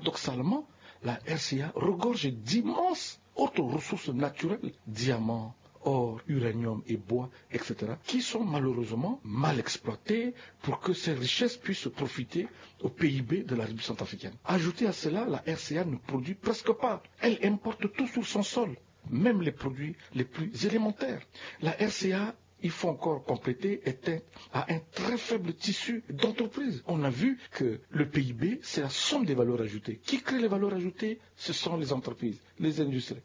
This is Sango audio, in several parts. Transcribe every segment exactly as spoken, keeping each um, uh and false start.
Paradoxalement, la R C A regorge d'immenses autres ressources naturelles, diamants, or, uranium et bois, et cetera, qui sont malheureusement mal exploitées pour que ces richesses puissent profiter au P I B de la République centrafricaine. Ajoutez à cela, la R C A ne produit presque pas. Elle importe tout sur son sol, même les produits les plus élémentaires. La R C A, il faut encore compléter, est un, a un très faible tissu d'entreprise. On a vu que le P I B, c'est la somme des valeurs ajoutées. Qui crée les valeurs ajoutées ? Ce sont les entreprises, les industries.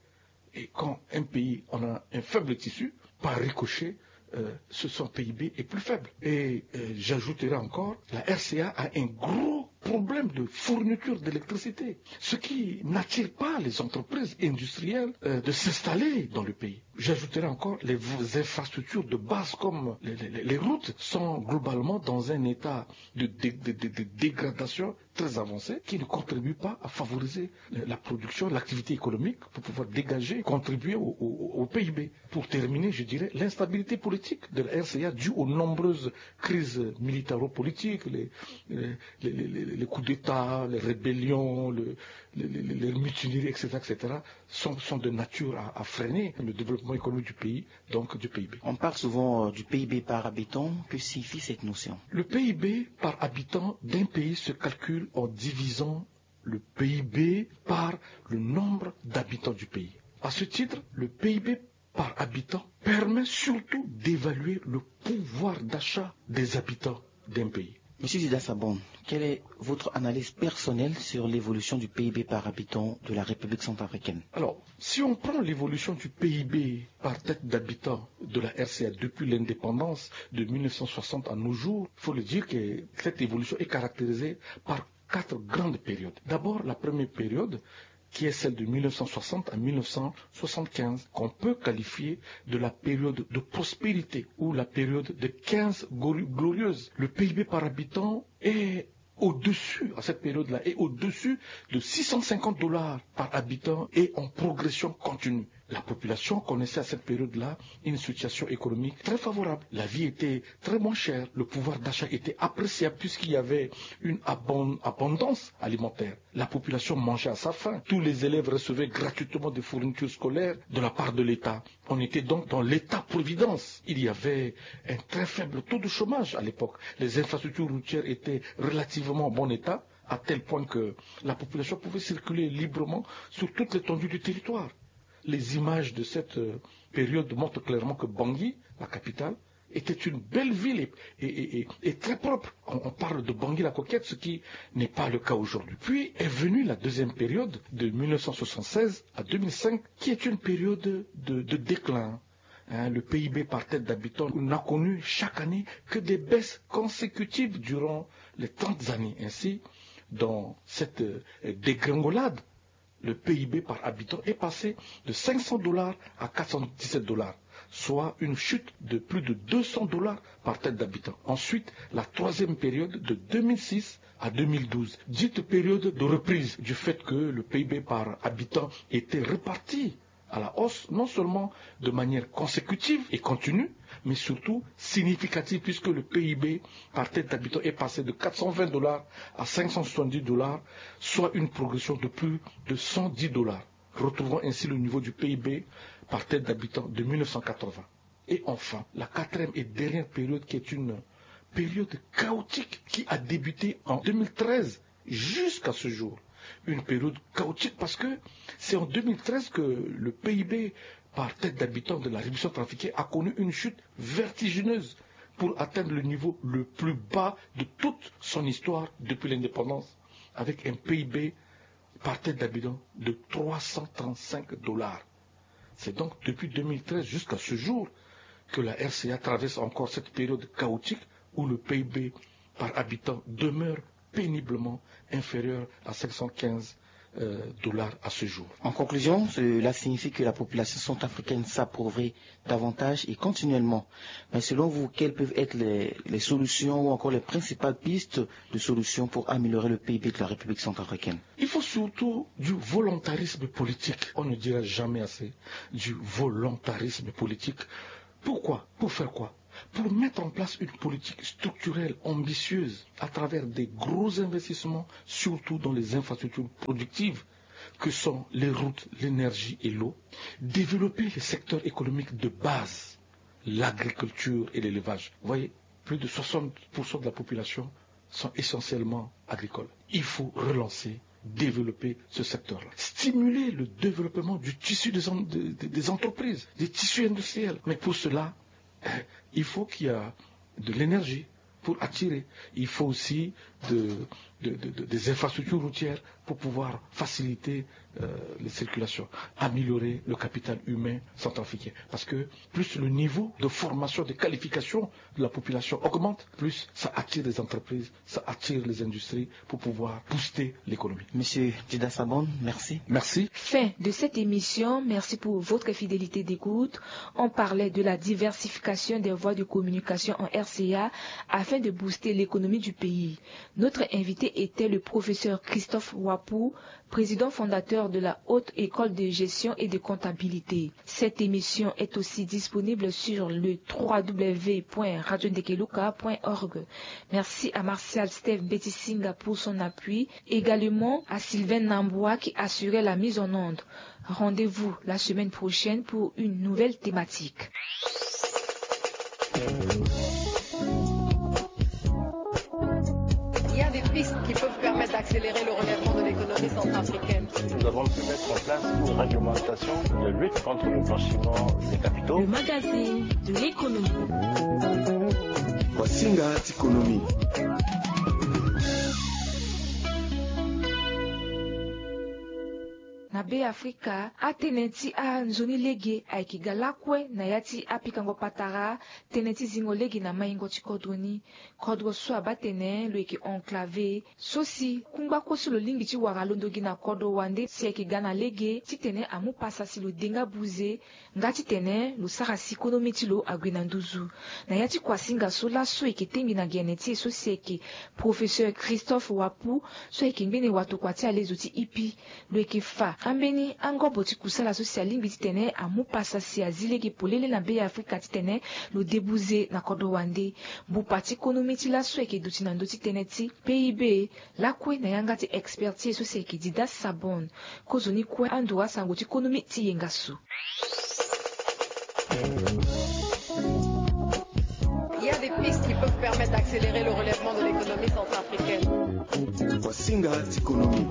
Et quand un pays en a un faible tissu, par ricochet, euh, ce, son P I B est plus faible. Et euh, j'ajouterai encore, la R C A a un gros problème de fourniture d'électricité, ce qui n'attire pas les entreprises industrielles euh, de s'installer dans le pays. J'ajouterai encore, les v- infrastructures de base comme les, les- les routes sont globalement dans un état de, dé- de- de- de dégradation très avancé qui ne contribue pas à favoriser la production, l'activité économique pour pouvoir dégager, contribuer au, au- au P I B. Pour terminer, je dirais l'instabilité politique de la R C A due aux nombreuses crises militaro-politiques, les, les- les- les- les- les coups d'État, les rébellions, le- les, les- les- les mutineries, et cetera, et cetera, sont, sont de nature à, à freiner le développement économique du pays, donc du P I B. On parle souvent euh, du P I B par habitant. Que signifie cette notion ? Le P I B par habitant d'un pays se calcule en divisant le P I B par le nombre d'habitants du pays. À ce titre, le P I B par habitant permet surtout d'évaluer le pouvoir d'achat des habitants d'un pays. Monsieur Zida Sabon, quelle est votre analyse personnelle sur l'évolution du P I B par habitant de la République centrafricaine ? Alors, si on prend l'évolution du P I B par tête d'habitant de la R C A depuis l'indépendance de mille neuf cent soixante à nos jours, il faut le dire que cette évolution est caractérisée par quatre grandes périodes. D'abord, la première période, qui est celle de mille neuf cent soixante à mille neuf cent soixante-quinze, qu'on peut qualifier de la période de prospérité ou la période de quinze gori- glorieuses. Le P I B par habitant est au-dessus, à cette période-là, est au-dessus de six cent cinquante dollars par habitant et en progression continue. La population connaissait à cette période-là une situation économique très favorable. La vie était très moins chère. Le pouvoir d'achat était appréciable puisqu'il y avait une abon- abondance alimentaire. La population mangeait à sa faim. Tous les élèves recevaient gratuitement des fournitures scolaires de la part de l'État. On était donc dans l'État-providence. Il y avait un très faible taux de chômage à l'époque. Les infrastructures routières étaient relativement en bon état, à tel point que la population pouvait circuler librement sur toute l'étendue du territoire. Les images de cette euh, période montrent clairement que Bangui, la capitale, était une belle ville et, et- et- et très propre. On, on parle de Bangui la Coquette, ce qui n'est pas le cas aujourd'hui. Puis est venue la deuxième période de mille neuf cent soixante-seize à deux mille cinq, qui est une période de, de déclin. Hein, le P I B par tête d'habitant n'a connu chaque année que des baisses consécutives durant les trente années. Ainsi, dans cette euh, dégringolade, le P I B par habitant est passé de cinq cents dollars à quatre cent dix-sept dollars, soit une chute de plus de deux cents dollars par tête d'habitant. Ensuite, la troisième période de deux mille six à deux mille douze, dite période de reprise, du fait que le P I B par habitant était reparti à la hausse, non seulement de manière consécutive et continue, mais surtout significative, puisque le P I B par tête d'habitant est passé de quatre cent vingt dollars à cinq cent soixante-dix dollars, soit une progression de plus de cent dix dollars, retrouvant ainsi le niveau du P I B par tête d'habitant de mille neuf cent quatre-vingts. Et enfin, la quatrième et dernière période, qui est une période chaotique qui a débuté en deux mille treize jusqu'à ce jour. Une période chaotique parce que c'est en deux mille treize que le P I B par tête d'habitant de la République centrafricaine a connu une chute vertigineuse pour atteindre le niveau le plus bas de toute son histoire depuis l'indépendance, avec un P I B par tête d'habitant de trois cent trente-cinq dollars. C'est donc depuis deux mille treize jusqu'à ce jour que la R C A traverse encore cette période chaotique où le P I B par habitant demeure péniblement inférieur à cinq cent quinze euh, dollars à ce jour. En conclusion, cela signifie que la population centrafricaine s'appauvrit davantage et continuellement. Mais selon vous, quelles peuvent être les, les solutions ou encore les principales pistes de solutions pour améliorer le P I B de la République centrafricaine ? Il faut surtout du volontarisme politique. On ne dira jamais assez du volontarisme politique. Pourquoi ? Pour faire quoi ? Pour mettre en place une politique structurelle ambitieuse à travers des gros investissements, surtout dans les infrastructures productives que sont les routes, l'énergie et l'eau, développer les secteurs économiques de base, l'agriculture et l'élevage. Vous voyez, plus de soixante pour cent de la population sont essentiellement agricoles. Il faut relancer, développer ce secteur-là. Stimuler le développement du tissu des, en- de- de- des entreprises, des tissus industriels. Mais pour cela, il faut qu'il y a de l'énergie pour attirer. Il faut aussi de- de- de- de- des infrastructures routières pour pouvoir faciliter euh, les circulations, améliorer le capital humain centrafricain. Parce que plus le niveau de formation, de qualification de la population augmente, plus ça attire les entreprises, ça attire les industries pour pouvoir booster l'économie. Monsieur Dida Sabon, merci. Merci. Fin de cette émission. Merci pour votre fidélité d'écoute. On parlait de la diversification des voies de communication en R C A afin de booster l'économie du pays. Notre invité était le professeur Christophe Wapou, président fondateur de la Haute École de Gestion et de Comptabilité. Cette émission est aussi disponible sur le trois W point radio ndekeluka point org. Merci à Martial Steve Betisinga pour son appui, également à Sylvain Nambois qui assurait la mise en onde. Rendez-vous la semaine prochaine pour une nouvelle thématique. Il y a des pistes qui peuvent permettre d'accélérer le relèvement de l'économie centrafricaine. Nous avons pu mettre en place une réglementation de lutte contre le blanchiment des capitaux. Le magazine de l'économie. Wasinga ti économie. Na Be Afrika, atënë ti anzoni lege ayeke ga lakue na ya ti apikango patara tënë ti zingo lege na maingo ti kodro ni. Kodro so abaa tene lo yeke enclavé so si kungba kue so lo lingbi ti wara londo gi na kodro wande si ayeke ga na lege titene amu pasa si lo de nga buze nga titene lo sara si konomi ti lo ague na nduzu. Na ya ti kuasinga so laso eke tengbi na gene ti e so si ayeke professeur Christophe Wapou so ayeke ngbene watokua ti alezo ti ipi. Lo yeke fa ambeni angobo ti kusala so si alingbi titene amu pasa si azi lege polele na Be Afrika titene lo de buze na kodro wande. Bupa ti konomi ti laso ayeke duti na ndö ti tënë ti P I B lakue na yanga ti expert ti e so si ayeke Dida Sabon. Kozoni kue ando asango ti konomi ti yenga so. Il y a des pistes qui peuvent permettre d'accélérer le relèvement de l'économie centrafricaine. Wasinga ti économie.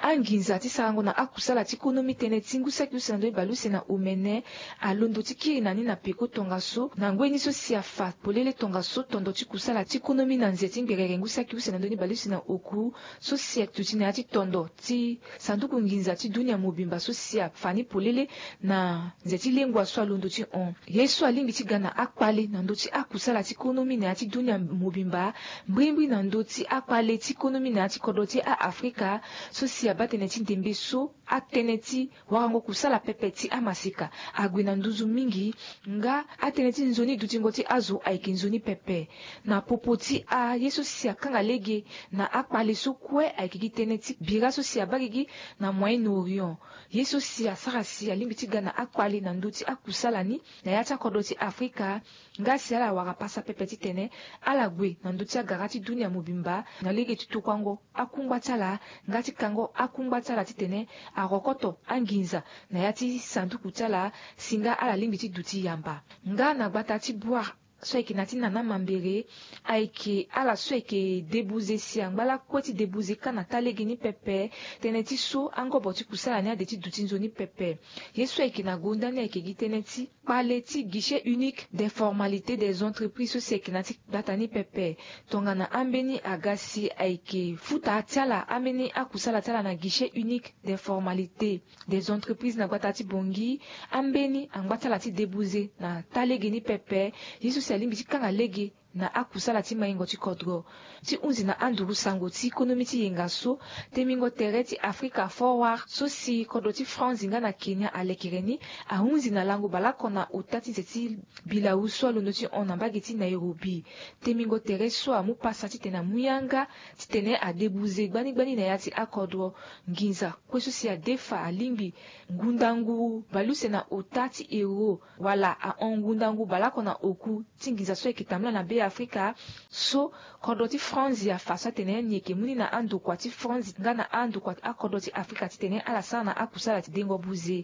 Anginza ti sarango na akusala ti konomi tënë ti ngu saki use na ndö ni baleuse na omene alondo ti kiri na ni na peko tongaso na ngoi ni so si afa polele tongaso tondo ti kusala ti konomi na nze ti ngberere ngu saki use na ndö ni baleuse na oku so si aduti na ya ti tondo ti sanduku nginza ti dunia mobimba so si afa ni polele na nze ti lengua so alondo ti hon. Ye so alingbi ti ga na akpale na ndö ti akusala ti konomi na ya ti dunia mobimba, mbrimbri na ndö ti akpale ti konomi na ya ti kodro ti a-Afrika so si abaa tënë ti ndembe so atënë ti warango kusala pepe ti amaseka ague na nduzu mingi, nga atënë ti nzoni dutingo ti azo ayeke nzoni pepe. Na popo ti aye so si akanga lege na akpale so kue ayeke gi tënë ti bira so si abaa gigi na Moyen-Orient. Ye so si asara si alingbi ti ga na akpale na ndö ti akusala ni na ya ti akodro ti Afrika, nga si ala wara pasa pepe titene ala gue na ndö ti agara ti dunia mobimba na lege ti tokuango akungba ti ala nga ti kango akungba ti ala titene arokoto anginza na ya ti sanduku ti ala si nga ala lingbi ti duti yamba. Nga na gbata ti Bouar so ayeke na ya ti Nana Mambéré, ayeke ala so ayeke de buze si angba lakue ti de buze kâ na taa lege ni pepe. Tënë ti so angobo ti kusala ni ade ti duti nzoni pepe. Ye so ayeke na gonda ni ayeke gi tënë ti kpale ti guichet unique des formalités des entreprises so si ayeke na ya ti gbata ni pepe. Tongana ambeni aga si ayeke futa ti ala ambeni akusala ti ala na guichet unique des formalités des entreprises na gbata ti Bangui, ambeni angba ti ala ti de buze na taa lege ni pepe. Ye so si alingbi ti kanga lege na akusala ti maingo ti kodro. Ti hunzi na anduru sango ti konomi ti yenga so, temingo tere ti Afrika Forward so si kodro ti France nga na Kenya alekere ni, ahunzi na lango baleoko na ota ti nze ti bilau so alondo ti hon na mbage ti Nairobi. Temingo tere so amu pasa titene amu yanga titene adebuze gbanigbani na ya ti akodro. Nginza kue so si adefa alingbi ngundangu baleuse na ota ti euro, wala ahon ngundangu baleoko na oku ti nginza so ayeke tambula na Be Afrika. So kodro ti France afa so atene ni yeke mu ni na andokua ti France nga na andokua ti akodro ti Afrika titene ala sara na akusala ti dengo buze.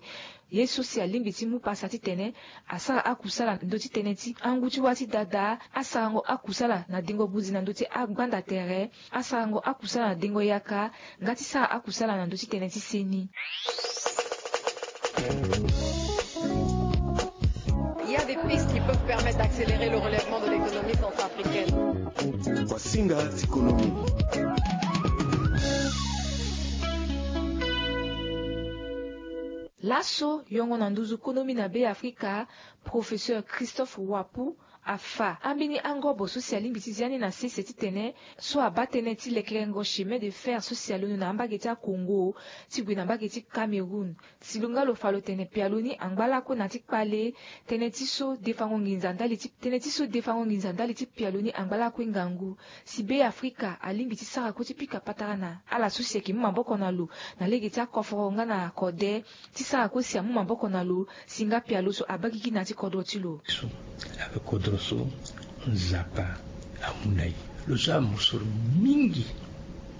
Ye so si alingbi ti mu pasa titene asara akusala na ndö ti tënë ti angu ti wâ ti dada, asarango akusala na dengo buze na ndö ti agbanda tere, asarango akusala na dengo yaka, nga ti sara akusala na ndö ti tënë ti seni. Il y a des pistes qui peuvent permettre d'accélérer le relèvement de l'économie centrafricaine. Wasinga ti konomi. Laso yongo na nduzu konomi na Be Afrika, professeur Christophe Wapu, afa ambeni angobo so si alingbi ti zia ni na sese titene so abaa tënë ti lekerengo chemin de fer so si alondo na ambage ti akongo ti gue na mbage ti Cameroun. Si lo nga lo fa lo tene pialo ni angba lakue na ti kpale tënë ti so defango nginza ndali ti tënë ti so defango nginza ndali ti pialo ni angba lakue ngangu. Si Be Afrika alingbi ti sara kue ti pika patara na ala so si ayeke mu maboko na lo na lege ti akoforo nga na kode, ti sara kue si amu maboko na lo si nga pialo so abakiki na ya ti kodro ti lo. So ayeke kodro so Nzapa amu na e. Lo so amusoro mingi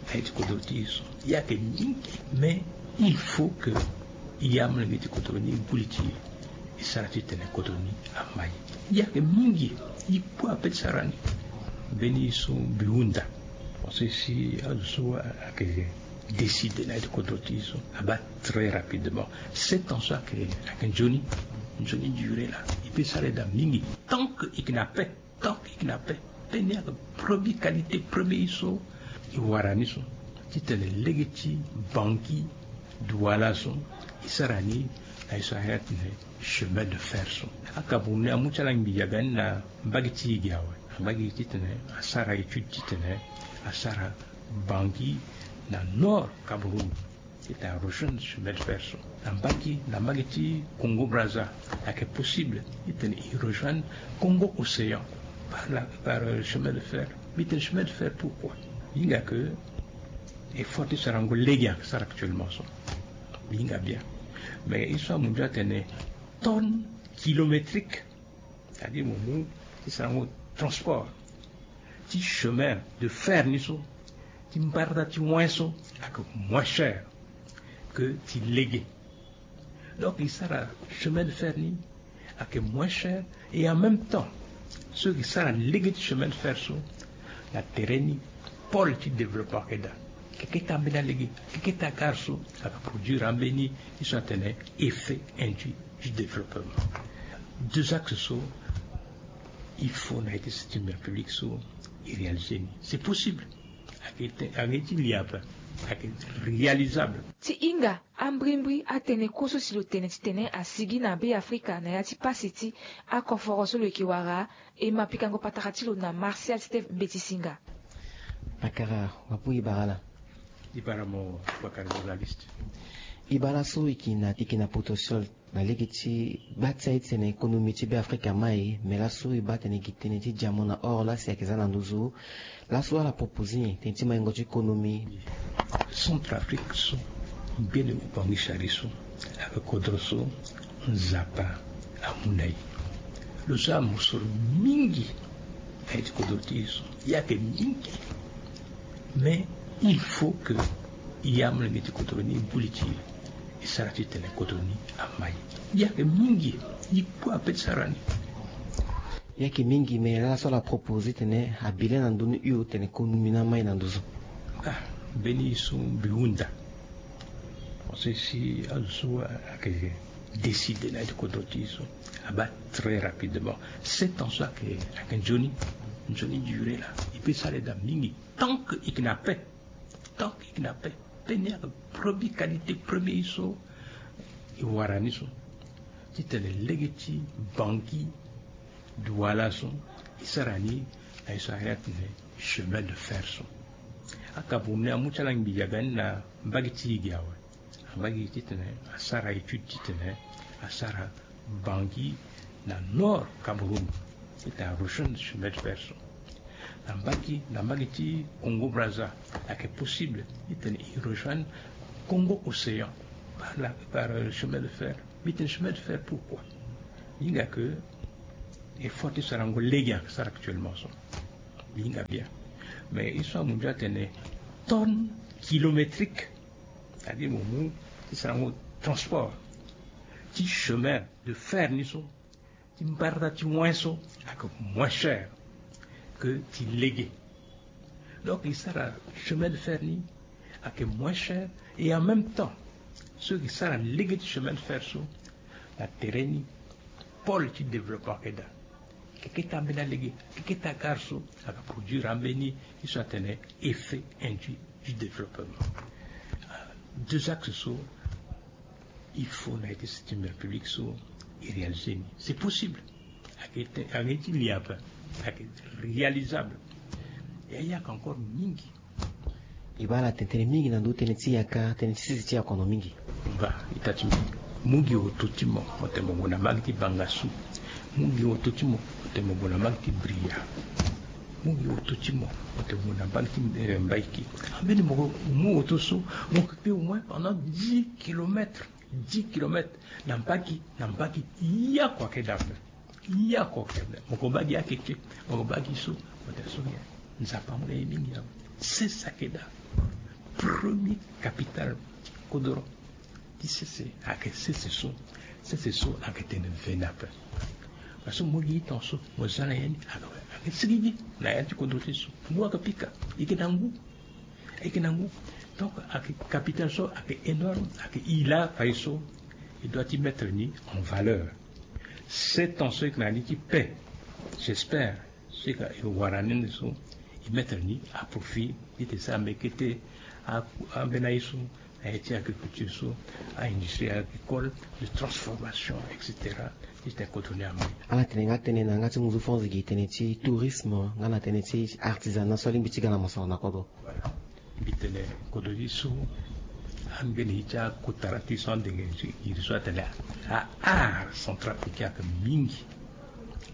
na ye ti kodro ti e so, e yeke mingi. Mais il faut que e yamolenge ti kodro ni e gbu li ti e, e sara titene kodro ni ama e. E yeke mingi, e kue ape ti sara ni. Mbeni so mbi hunda, parce que si azo so ayeke décider na ye ti kodro ti e so, abaa très rapidement. Sept ans so ayeke, ayeke nzoni, nzoni durée laa. E peut sara e daa mingi tant que e yeke na paix. Donc e yeke na paix. Paix ni ayeke premier qualité, premier ye so e wara ni so, titene lege ti Bangui, Douala so, e sara ni na ye so ahiri atene chemin de fer so. Acameroun ni amu ti ala ngbi yaga ni na mbage ti e ge awe. Mbage titene asara étude titene asara Bangui na nord Cameroun. Titene arejoindre chemin de fer so. Na mbage, na mbage ti Congo Brazza, ayeke possible titene e rejoindre Congo Océan par la, par, euh, chemin de fer. Mbi tene chemin de fer pourquoi? Mbi hinga ke effort ti sarango lege ayeke sara actuellement so. Mbi hinga bien. Mais e so amu ndio atene tonne kilométrique, c'est-à-dire mo mu ti sarango transport ti chemin de fer ni so, ti mbarda ti win so, ayeke moins cher que ti lege. Donc e sara chemin de fer ni ayeke moins cher, et en même temps so e sara lege ti chemin de fer so, na tere ni pôle ti développement ayeke daa. Keke ti ambeni alege, keke ti agare so ayeke produire ambeni ye so atene effet induit du développement. Deux axes so il faut na ye ti structure publique so e réaliser ni. C'est possible. Ayeke ti lia ape, ayeke réalisable. Ti hinga ambrimbri atënë kue so si lo tene titene asigi na Be Afrika na ya ti pasi ti akoforo so lo yeke wara. E ma pikango patara ti lo na Martial Steve Mbeti Singa. Akara wapu e bara ala. E bara mo wakara journaliste. E bara so e yeke na, e yeke na potentiel na lege ti gba ti aye ti tene économie ti Be Afrika mai, me laso e baa tene gi tënë ti diamant na or laa si ayeke za na nduzu. Laso ala proposer nyen tënë ti maingo ti économie? Centrafrique so, ngbene Ubangui Chari so, ayeke kodro so Nzapa amu na e. Lo so amusoro mingi na ye ti kodro ti e so, e yeke mingi. Mais il faut que e yamolenge ti kodro ni e gbu li ti e, e sara titene kodro ni ama e. E yeke mingi, e kue ape ti sara ni. E yeke mingi, me laso ala proposer tene abile na ndö ni hio tene économie ni ama e na nduzu. Ah, mbeni ye so mbi hunda. Parce que si azo so ayeke décider na ye ti kodro ti e so, abaa très rapidement. Sept ans so ayeke, ayeke nzoni, nzoni durée laa. E peut sara e daa mingi tant que e yeke na paix. Tant que e yeke na paix. Paix ni ayeke premier qualité, premier ye so e wara ni so, titene lege ti Bangui, Douala so, e sara ni Aye so ayeke chemin de fer so. Acameroun ni amu ti ala ngbi yaga ni na mbage ti e ge awe. Ambage titene asara étude titene asara bangi na nord Cameroun, titene arejoindre chemin de fer so. Na mbage na mbage ti Congo Brazza, ayeke possible titene e rejoindre Congo Océan par la, par chemin de fer. Mbi tene chemin de fer pourquoi? Hinga ke effort ti sarango lege ayeke sara actuellement so. Mbi hinga bien. Mais e so amu ndia atene tonne kilométrique, c'est-à-dire mo mu ti sarango transport ti chemin de fer ni so, ti mbarda ti win so, ayeke moins cher ke ti lege. Donc e sara chemin de fer ni ayeke moins cher. Et en même temps, so e sara lege ti chemin de fer so, na tere ni pôle ti développement ayeke daa. Keketa ambeni alege, keketa agare so ayeke produire ambeni ye so atene effet induit du développement. Deux axes so il faut na ye ti septième république so e réaliser ni. C'est possible. Ayeke ti li ape, ayeke réalisable. E ayeke encore mingi. E baa ala tene tënë mingi na ndö tënë ti yaka, tënë ti sese ti akono mingi. Ba ita ti mo, mu gi oto ti mo mo tene mo gue na mbage ti bangasu. Mu gi oto ti mo mo tene mo gue na mbage ti bria. Mu gi oto ti mo mo tene mo gue na mbage ti mbaiki. Ambeni mo mu oto so, mo keke au moins pendant dix kilomètres. Dix kilomètres na mbage, na mbage. Yako ayeke daa ape. Yako ayeke daa. Mo ko bagi akeke, mo ko bagi so, mo tene so nyen? Nzapa amu na ye mingi awe. Sese ayeke daa. Premier capitale ti kodro ti sese ayeke sese so. Sese so ayeke tene veni ape. Parce que mo gi ita so mo za na ye ni ayeke sigigi na ya ti kodro ti so. Ngu ayeke pika, e yeke na ngu. E yeke na ngu. Donc ayeke capitale so ayeke énorme, ayeke e laa fade so e doit ti mettre ni en valeur. Sept ans so e yeke na ni ti paix, j'espère, si e wara ni so e mettre ni à profit, titene e sara mbeni kete ambeni aye so na ya ti agriculture so, aindustrie agricole, de transformation, et cetera. Titene kodro ni amai. Ala tene nga tënë na yanga ti ngu so fo nzege tënë ti tourisme nga na tënë ti artisanat so alingbi ti ga na mosoro na kodro. Mbi tene kodro ti so, ambeni ye ti akotara ti so ande nge iri so atene a-art centrafricain ayeke mingi.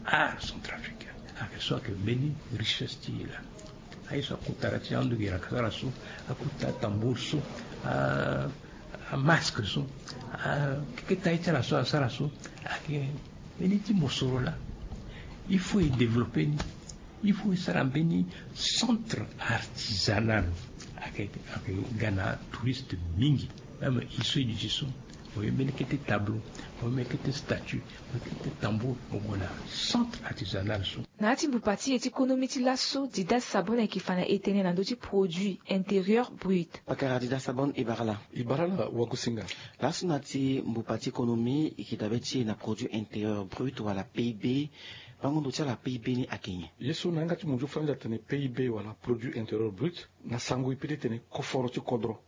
Art centrafricain ayeke so ayeke mbeni richesse ti e laa. Aye so akotara ti ande nge iri ayeke sara so, akota tambour so, a, amasque so, a, keketa ye ti ala so asara so ayeke mbeni ti mosoro laa. Il faut e développer ni. Il faut e sara mbeni centre artisanal. Ayeke, ayeke ga na touriste mingi. Même e so e duti so, mo ye mbeni kete tableau, mo ye mbeni kete statue, mo ye kete tambour, mo gue na centre artisanal so. Na ya ti mbupa ti e ti konomi ti laso, Dida Sabon ayeke fa na e tënë na ndö ti produit intérieur brut. Pakara Dida Sabon, e bara laa. E bara laa wagosinga. Laso na ya ti mbupa ti konomi, e yeke dabe ti e na produit intérieur brut wala P I B. Bango ndo ti ala P I B ni ayeke nyen? Ye so na yanga ti mo nzoni fo nda atene P I B wala produit intérieur brut, na sango e peut ti tene koforo ti kodro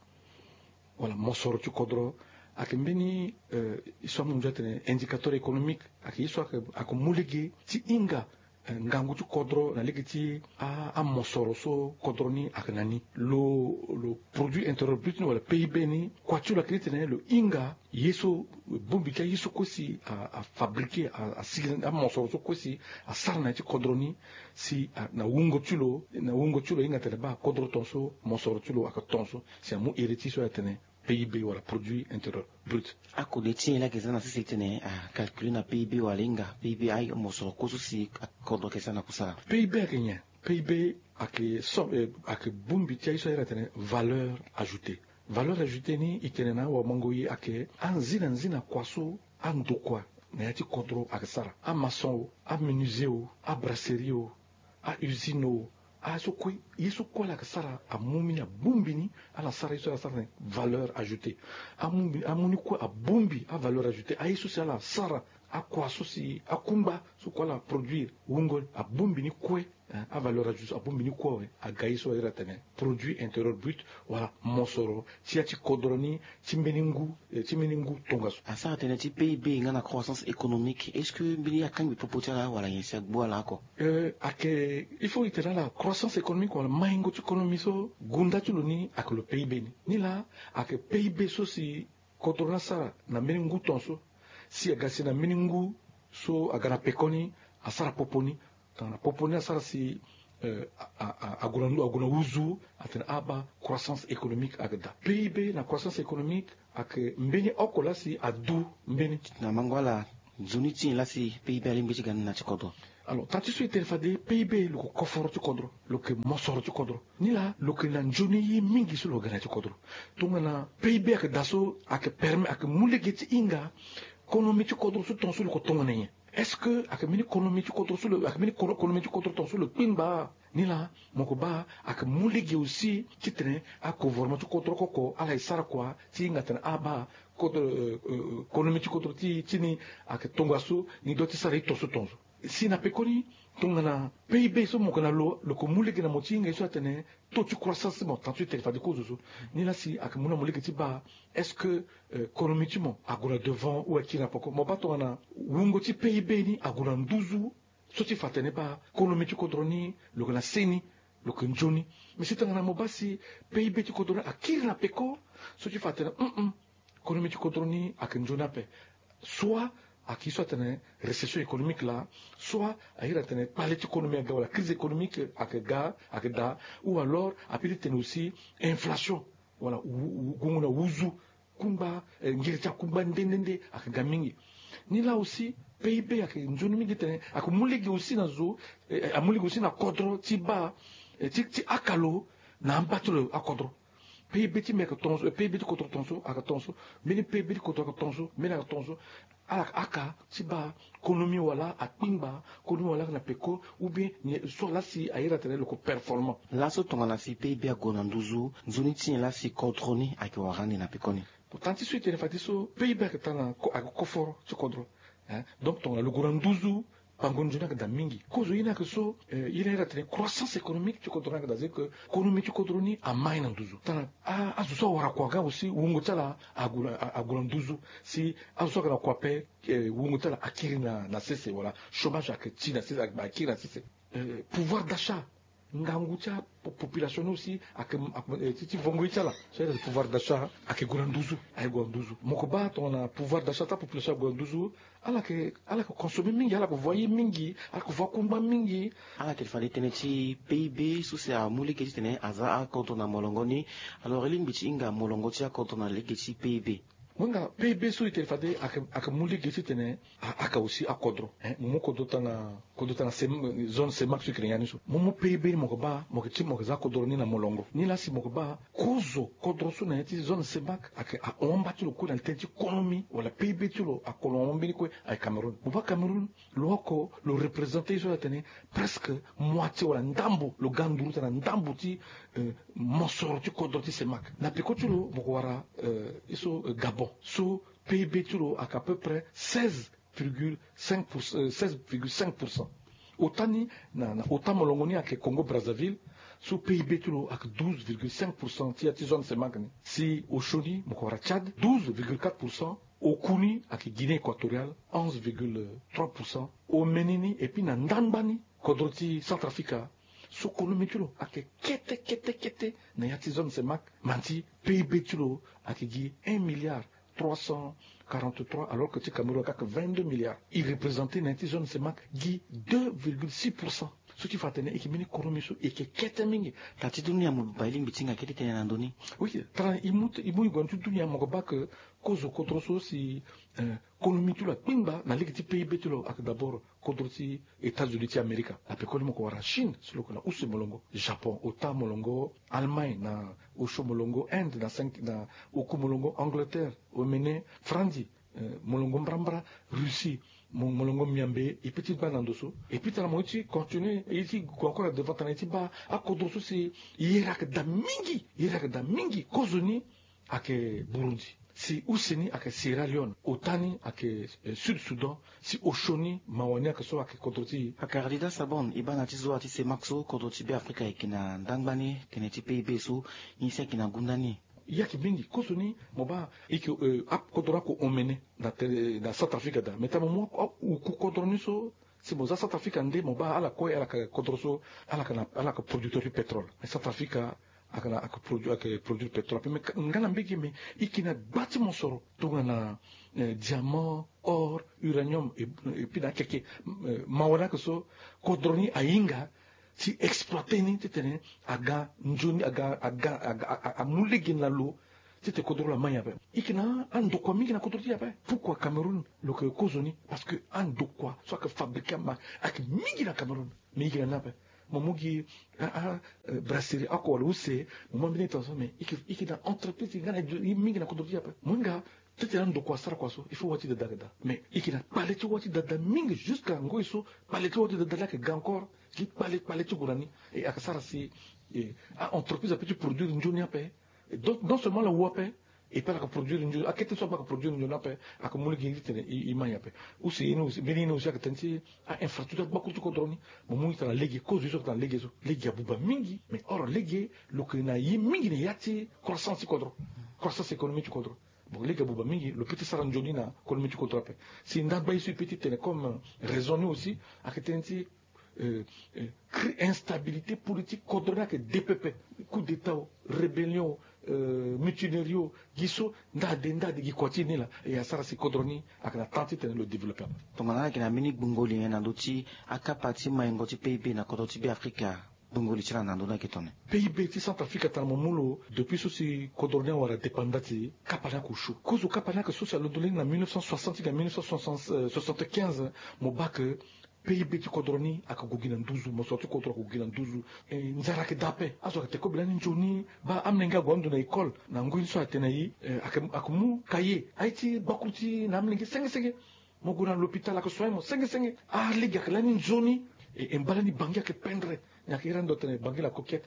wala mosoro ti kodro. Ayeke mbeni, eh, ye so amu nzoni atene indicateur économique, ayeke ye so ayeke, ayeke mu lege ti hinga, eh, ngangu ti kodro na lege ti a, amosoro so kodro ni ayeke na ni. Lo, lo produit intérieur brut ni wala P I B ni, kua ti lo ayeke ni titene lo hinga ye so, bongbi ti aye so kue si a, afabriquer, a, asigi amosoro so kue si asara na ya ti kodro ni, si a, na wungo ti lo, na wungo ti lo hinga tene baa kodro tongaso, mosoro ti lo ayeke tongaso, si amu iri ti so atene P I B wala produit intérieur brut. Akode ti nyen laa ayeke za na sese titene acalculer na P I B wala hinga P I B, aye mosoro kue so si kodro ayeke za na kusala? P I B ayeke nyen? P I B ayeke so, eh, ayeke bongbi ti aye so ahiri atene valeur ajoutée. Valeur ajoutée ni e tene na awamango ye ayeke anzina nzina kua so andokua na ya ti kodro ayeke sara. Amaçon o, amenuisier o, abrasserie o, a-usine o, aye so kue, ye so kue ala yeke sara amu mbeni abongbi ni, ala sara ye so ala sara tene valeur ajoutée. Amu mbeni, amu ni kue abongbi avaleur ajoutée. Aye so si ala sara Akua so si akungba so kua ala produire wungo abongbi ni kue. Avaleur ajour so abongbi ni kue awe aga ye so ayere atene produit intérieur brut, wala mosoro ti ya ti kodro ni ti mbeni ngu ti mbeni ngu tongaso. Asara tënë ti pib nga na croissance économique, est-ce que mbeni akangbi popo ti ala wala nyen si agbu ala oko? Ayeke il faut itene ala croissance économique wala maingo ti konomi so gunda ti lo ni ayeke lo pib ni. Ni laa ayeke pib so si kodro ni asara na mbeni ngu ton so si aga si na mbeni ngu so aga na pekoni asara popo ni. Tongana popo ni asara si ague na ndu ague na uzu atene aba croissance économique ayeke daa. Pib na croissance économique ayeke mbeni oko laa si adu mbeni. Na mango ala nzoni ti nyen laa si pib alingbi ti ga ni na ti kodro? Alors tara ti so itene fade pib lo yeke koforo ti kodro, lo yeke mosoro ti kodro. Ni laa lo yeke na nzoni ye mingi so lo ga na ya ti kodro. Tongana pib ayeke daa so ayeke permet ayeke mu lege ti hinga konomi ti kodro so ton so lo yeke tongana nyen? Est-ce que ayeke mbeni konomi ti kodro so lo ayeke mbeni konomi ti kodro ton so lo kpingba? Ni laa mo yeke baa ayeke mu lege aussi titene agouvernement ti kodro oko oko ala ye sara kua ti hinga atene abaa kodro konomi ti kodro ti ti ni ayeke tongaso. Ni doit ti sara ye ton so ton so. Si na pekoni tongana pib so mo yeke na lo lo yeke mu lege na mo ti hinga ye so atene taux ti croissance ti mo tant so itene fade kozo so. Ni laa si ayeke mu na mo lege ti baa est-ce que konomi ti mo ague na devant ou akiri na poko? Mo baa tongana wungo ti pib ni ague na nduzu so ti fa atene baa konomi ti kodro ni lo yeke na seni, lo yeke nzoni. Mais si tongana mo baa si pib ti kodro ni akiri na peko so ti fa atene konomi ti kodro ni ayeke nzoni ape. Soit ayeke ye so atene récession économique laa, soit ayeke iri atene kpale ti konomi aga wala crise économique ayeke ga ayeke daa. Ou alors ape ti tene aussi inflation wala gungu na uzu kungba ngiri ti akungba nde nde nde ayeke ga mingi. Ni laa aussi pib ayeke nzoni mingi titene ayeke mu lege aussi na zo amu lege aussi na kodro ti baa ti aka lo na amba ti lo akodro. Pib ti mbi ayeke ton so pib ti kodro ton so ayeke ton so. Mbeni pib ti kodro ayeke ton so mbeni ayeke ton so. Ala yeke aka ti baa konomi wala akpingba konomi wala ayeke na peko ou bien nyen so laa si ayere atene lo yeke performant. Laso tongana si pib ague na nduzu nzoni ti nyen laa si kodro ni ayeke wara ande na peko ni? Pourtant ti so itene fade so pib ayeke tara na ayeke koforo ti kodro. Donc tongana lo gue na nduzu bango nzoni ayeke daa mingi. Kozo ye ni ayeke so ye ni ayere atene croissance économique ti kodro ni ayeke daa, c'est que konomi ti kodro ni amai na nduzu tara. Azo so awara kua ga aussi wungo ti ala ague na nduzu. Si azo so ayeke na kua ape wungo ti ala akiri na sese wala chômage ayeke ti na sese akiri na sese. Pouvoir d'achat ngangu ti apopulation ni aussi ayeke ti vongo ye ti ala. So ayeke pouvoir d'achat ayeke gue na nduzu ayeke gue na nduzu. Mo yeke baa tongana pouvoir d'achat ti apopulation ayeke gue na nduzu ala yeke ala yeke consommer mingi ala yeke voyer mingi ala yeke voyer kungba mingi. Ala yeke fade tënë ti pib so si amu lege titene aza akodro na molongo ni. Alors e lingbi ti hinga molongo ti akodro na lege ti pib? Mo hinga pib so itene fade ayeke mu lege titene aka aussi akodro. Mo mu kodro tanga kodro tanga zone semak so e kiri ngia ni so mo mu pib ni mo yeke baa mo yeke ti mo yeke za kodro ni na molongo. Ni laa si mo yeke baa kozo kodro so na ya ti zone semak ayeke ahon amba ti lo kue na li tënë ti konomi wala pib ti lo akolo ahon mbeni kue ayeke cameroun. Mo baa cameroun lo oko lo représenter ye so atene presque moitié wala ndambo lo ga nduru tena ndambo ti mosoro ti kodro ti semak. Na peko ti lo mo yeke wara ye so gabon so pib ti lo ayeke à peu près seize virgule cinq pour cent. Ota ni na ota molongo ni ayeke congo brazzaville so pib ti lo ayeke douze virgule cinq pour cent ti ya ti zone semak ni. Si osio ni mo yeke wara tchad douze virgule quatre pour cent. Oku ni ayeke guinée équatoriale onze virgule trois pour cent. Omene ni epui na ndangba ni kodro ti centrafrica so konomi ti lo ayeke kete kete kete na ya ti zone semak. Manti pib ti lo ayeke gi un milliard trois cent quarante-trois alors que ti cameroun ayeke vingt-deux milliards. E représenter na ya ti zone semak gi deux virgule six pour cent. So ti fa atene e yeke mbeni konomi so e yeke kete mingi. Tara ti dunia mo baa e lingbi ti hinga kete tënë na ndö ni. Oui, tara e mu e mu e gue na ti dunia mo yeke baa ke kozo kodro so si konomi ti lo akpingba na lege ti pib ti lo ayeke d'abord kodro ti états-unis ti amerika. Na pekoni mo yeke wara chine so lo yeke na use molongo, japon ota molongo, allemagne na osio molongo, inde na cinq na oku molongo, angleterre, omene, franzi, molongo mbrambra, russie, molongo miambe. E pe ti gba na ndo so e pe tara mo ye ti continuer ye ti gue encore na devant tana ye ti baa akodro so si yere ayeke daa mingi yere ayeke daa mingi kozoni ayeke burundi. Si use ni ayeke Sierra Leone, ota ni ayeke Sud Soudan, si osio ni mawa ni ayeke so ayeke kodro ti e. Akara Dida Sabon e baa na ya ti zo wa ti semak so kodro ti Beafrika ayeke na ndangba ni tene ti P I B so, ye si ayeke na gunda ni. Ye ayeke mingi kozo ni mo baa e yeke akodro ako omene na Centrafrique daa, me tara mo mu oku kodro ni so. Si mo za Centrafrique ande mo baa ala kue ala yeke kodro so ala yeke producteur ti pétrole. Mais Centrafrique ala yeke produire pétrole ape. Mais nga na mbege me e yeke na gba ti mosoro tongana diamant, or, uranium, epui na akeke mawa ni ayeke so kodro ni ahinga ti exploiter ni titene aga nzoni aga aga aga amu lege na lo. Titene kodro lo ama nyen ape? E yeke na andokua mingi na kodro ti e ape. Pourquoi Cameroun lo yeke kozo ni? Parce que andokua so ayeke fabriquer ama ayeke mingi na Cameroun. Mais e yeke na ni ape. Mo mu gi a a brasserie oko wala use, mo mu ambeni ita so, mais e yeke na entreprise nga na ye mingi na kodro ti e ape. Mo hinga titene andokua asara kua so il faut wa ti dada ayeke daa. Mais e yeke na kpale ti wa ti dada mingi jusqu'à ngoi so kpale ti wa ti dada laa ayeke ga encore. Gi kpale kpale ti gue na ni. E ayeke sara si a entreprise ape ti produire nzoni ape. Donc non seulement ala wu ape, et puis ala yeke produire nzoni, akete so ape ayeke produire nzoni ape. Ayeke mu lege titene e ma nyen ape? Use ye ni aussi, mbeni ye ni aussi ayeke tënë ti a infrastructure ti gbakuru ti kodro ni. Mo mu ita na lege, kozo ye so ayeke na lege so, lege abuba mingi. Mais or lege lo yeke na ye mingi na ya ti croissance ti kodro, croissance économique ti kodro. Bon, lege abuba mingi, lo peut ti sara nzoni na économie ti kodro ape. Si ndagba ye so e peut ti tene comme raison ni aussi ayeke tënë ti créer instabilité politique, kodro ni ayeke de pepe. Coup d'état o, rébellion o, mutinerie o, gi so nda ade nda ade gi kua ti e ni laa. E asara si kodro ni ayeke na temps titene lo développer ape. Tongana ala yeke na mbeni gbungo li nyen na ndö ti akapa ti maingo ti P I B na kodro ti Beafrika? Gbungo li ti ala na ndö ni ayeke tongana nyen? P I B ti Centrafrique atara mo mu lo depuis so si kodro ni awara dépendance, kapa ni ayeke osio. Kozo kapa ni ayeke so si alondo lani na mille neuf cent soixante ti ga mille neuf cent soixante-quinze, mo baa ke P I B ti kodro ni ayeke gue gi na nduzu, mosoro ti kodro ayeke gue gi na nduzu. Nzara ayeke daa ape. Azo ayeke te kobe lani nzoni. Baa amolenge ague ando na école na ngoi ni so ayeke tene na e ayeke mu cahier, aye ti gbakuru ti na amolenge senge senge. Mo gue na l'hôpital ayeke soigner mo senge senge. Alege ayeke lani nzoni. E mbala ni Bangui ayeke pendre. Ni ayeke iri ando atene Bangui la Coquette.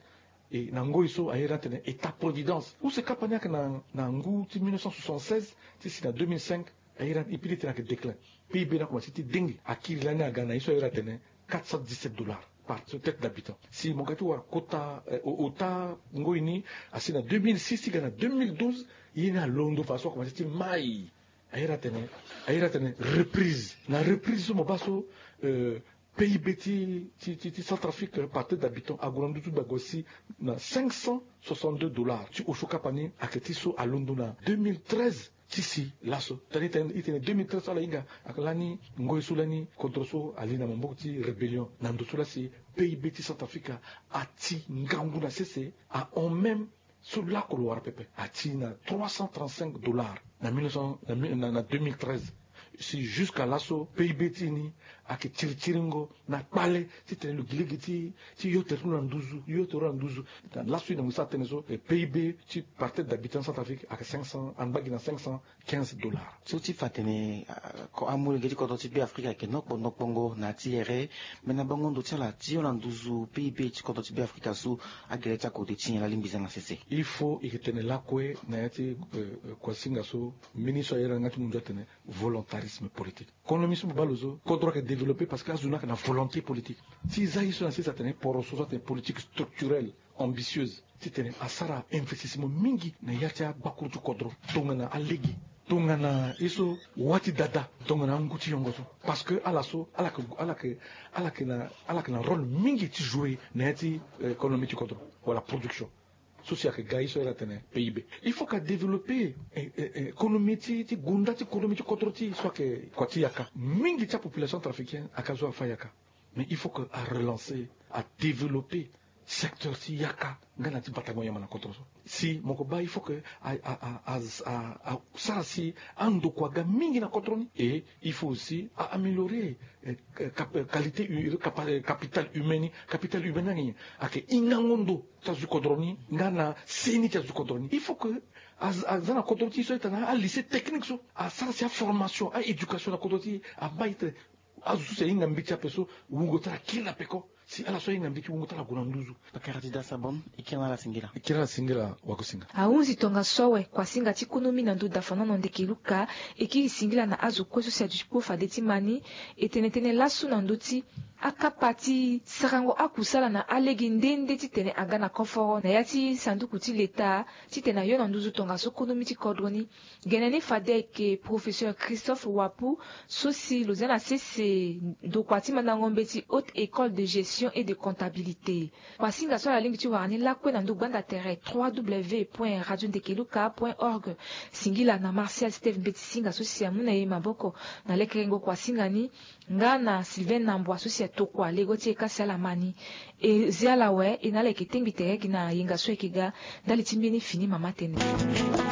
E na ngoi so aye iri atene État Providence. Use kapa ni ayeke na ngu ti mille neuf cent soixante-seize ti si na deux mille cinq. Aye iri, e pili tene ayeke déclin. P I B ni akomanse ti dengi. Akiri lani aga na ye so aye iri atene quatre cent dix-sept dollars par tête d'habitant. Si mo ga ti wara kota ota ngoi ni, asi na deux mille six ti ga na deux mille douze, ye ni alondo fadeso akomanse ti mai. Aye iri atene, aye iri atene reprise. Na reprise so mo baa so P I B ti ti ti Centrafrique par tête d'habitant ague na nduzu, ague si na cinq cent soixante-deux dollars. Ti osio kapa ni ayeke ti so alondo na deux mille treize ti si laso. Tani tene e tene deux mille treize so ala hinga ayeke lani ngoi so lani kodro so ali na maboko ti rébellion. Na ndo so laa si P I B ti Centrafrique ati ngangu na sese, ahon même so lako lo wara pepe, ati na trois cent trente-cinq dollars na mille neuf cents, na deux mille treize. Si jusqu'à laso P I B ti e ni ayeke tiri tiringo na kpale titene lo gi lege ti ti yo tere ti lo na nduzu, yo tere ti lo na nduzu. Laso e na ngu sara tënë so P I B ti par tête d'habitant Centrafrique ayeke cinq cents, angba gi na cinq cent quinze dollars. So ti fa atene amolenge ti kodro ti Beafrika ayeke nokpo nokpongo na ya ti here. Me na bango ndo ti ala ti yo na nduzu P I B ti kodro ti Beafrika so, agere ti akode ti nyen? Laa lingbi za na sese. Il faut e yeke tene lakue na ya ti kuasinga so mbeni so aye iri na nga ti munzu atene volontarisme politique. Konomi so mo baa lo so kodro ayeke développer parce que azo ni ayeke na volonté politique. Ti za ye so na sese atene poroso so atene politique structurelle ambitieuse titene asara investissement mingi na ya ti agbakuru ti kodro. Tongana alege, tongana ye so wa ti dada, tongana angu ti yongo so. Parce que ala so ala yeke ala yeke ala yeke na ala yeke na rôle mingi ti jouer na ya ti économie ti kodro wala production. So si ayeke ga ye so aye iri atene P I B. Il faut ka développer économie ti ti gunda ti économie ti kodro ti e so ayeke kua ti yaka. Mingi ti apopulation centrafricaine ayeke azo afa yaka. Mais il faut que a relancer, a développer secteur ti yaka nga na ti batango nyama na kodro so. Si mo ko baa il faut que a a a a sara si andokua aga mingi na kodro ni. Et il faut aussi a améliorer qualité capital humain ni. Capital humain ni ayeke nyen? Ayeke hingango ndo ti azo ti kodro ni nga na seni ti azo ti kodro ni. Il faut que aza na kodro ti e so aita na alycée technique so asara si aformation, aéducation na kodro ti e. Amai tene azo so si ahinga mbeti ape so wungo ti ala akiri na peko. Si ala so ahinga mbi ti wungo ti ala gue na nduzu. Pakara ti dasa bom. E kiri na ala singila. E kiri na ala singila. Wagosinga. Ahunzi tongaso awe, kuasinga ti konomi na ndö dafanono ndeke luka e kiri singila na azo kue so si aduti kpo fade ti ma ni. E tene tënë laso na ndö ti akapa ti sarango akusala na alege nde nde titene aga na koforo na ya ti sanduku ti leta titene ayo na nduzu tongaso konomi ti kodro ni. Gene ni fade ayeke professeur Christophe Wapu, so si lo zia na sese ndokua ti mandango mbeti Haute Ecole de Gestion et de Comptabilité. Kuasinga so ala lingbi ti wara ni lakue na ndö gbanda tere trois w point radio ndekeluka point org. Singila na Martial Steve Mbeti Singa so si amu na e maboko na lekerengo kuasinga ni, nga na Sylvain Nambua so si atokua lego ti e kasi ala ma ni. E zia ala awe, e na ala yeke tengbi tere gi na yenga so ayeke ga. Ndali ti mbeni fini mama tene.